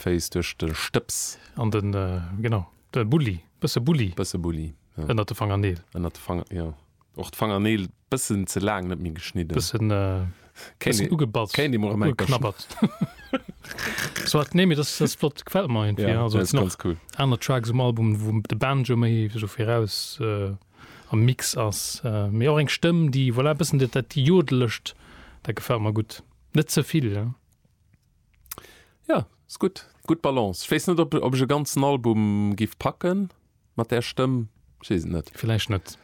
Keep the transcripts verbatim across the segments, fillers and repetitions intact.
Féiss duerch de Stëbs. An den, genau, de Bulli, bësse Bulli. Bësse Bulli, ja. Ënnert de Fangerneel. Ënnert de Fanger, jo. Och d'Fangerneel bëssen ze laang net méi geschnidden. Bëssen, bëssen ugebatzt. Kéint ee mol erëm eng Ugeknabbert. Soit, nee, mee dat ass flott, gefält mer iergendwéi. Ja, Also dat et ass sinn ganz och cool. aner Tracks um Album, wou de Banjo méi esou viraus am Mix ass. Mee och eng Stëmm, déi, voilà, e bëssen dat, dat Jodelescht, dat gefält mer gutt. Net ze vill, ja. Ja, ass gutt. Gutt Balance. Ech weess net, ob, ob ech e ganzen Album giff packen mat där Stëmm. Ech weess et net. Villäicht net.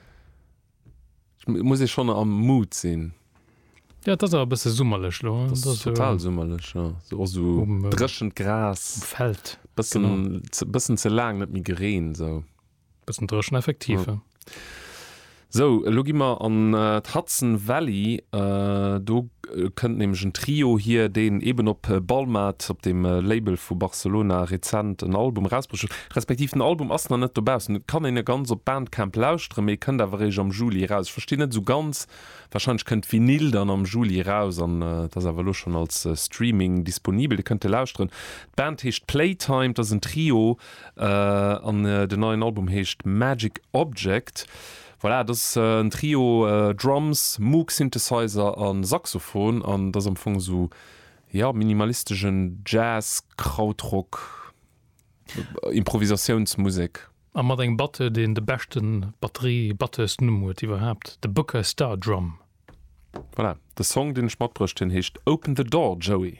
Muss ee schonn am Mood sinn. Ja, et ass awer e bësse summerlech elo. Et ass total summerlech, jo. Sou och sou Um, dréchent Gras. Um Feld. Bëssen, Genau. ze, bëssen ze laang net méi gereent, sou. Bëssen dréchen, effektiv, ja. Sou, elo gi mer an d'Hudson Valley. Do kënnt nämlech en Trio hier, deen eben op Balmat, op deem Label vu Barcelona, rezent en Album erausbruecht huet. Respektiv den Album ass nach net dobaussen, et kann een e ganz op Bandcamp lauschteren, mee e kënnt awer eréischt am Juli eraus. Ech verstinn net esou ganz, warscheinlech kënnt d'Vinyl dann am Juli eraus an et ass awer elo schonn als Streaming disponibel, Dir kënnt e lauschteren. D'Band heescht Playtime, et ass en Trio an den neien Album heescht Magic Object. Voilà, dat ass en Trio, Drums, Moog Synthesizer a Saxophon an dat ass am Fong esou, jo, minimalistegen Jazz, Krautrock, Improvisatiounsmusek. A mat engem Batteur, deen de beschte Batterie, Batteursnumm huet iwwerhaapt, de Booker Star Drum. Voilà, de Song, deen ech matbruecht hunn, heescht Open the Door, Joey.